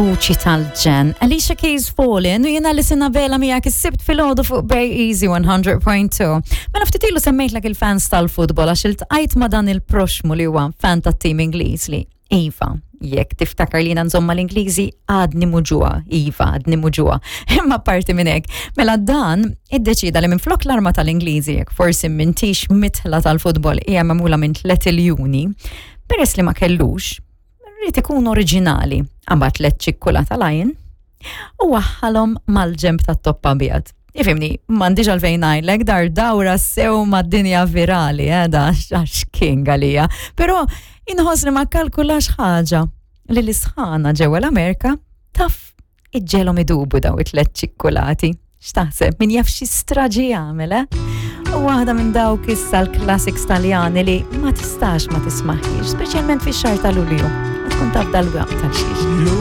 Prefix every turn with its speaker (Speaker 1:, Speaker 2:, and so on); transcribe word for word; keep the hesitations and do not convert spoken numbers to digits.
Speaker 1: Vuċi tal-ġenn. Alicia Keys, Fallin', u jiena Alison Abela miegħek is-Sibt filgħodu fuq Bay Easy one hundred point two. Mela ftit ilu semmejtlek il-fans tal-futbol għax iltqajt ma' dan il-proxmu li huwa fan tat-tim Ingliż li iva, jekk tiftakar li nżomma l-Ingliżi għadni muġugħa, iva, għadni muġugħa. Imma parti minn hekk. Mela dan iddeċida li minn flok l-arma tal-Ingliżi, jekk forsi m'intix midħla tal-futbol, hija magħmula minn tliet iljuni, peress li ma kellux, rrid ikun oriġinali. Għamel tliet ċikkulata Lion u waħħalhom mal-ġemb tat-top abjad. Ifhimni, m'għandix għalfejn ngħidlek dar dawra sew mad-dinja virali, eh, da għax king għalija. Però inħoss li ma kalkulax ħaġa li l-isħana ġewwa l-Amerika taf iġġegħelhom idubu daw it-tlet ċikkulati. X'taħseb, min jaf xi straġi jagħmel, eh? U waħda minn dawk issa l-classics Taljani li ma tistax ma tismaħiex, speċjalment fix-xahar ta' Lulju. Tkun taf dal-waqt tal-xiex.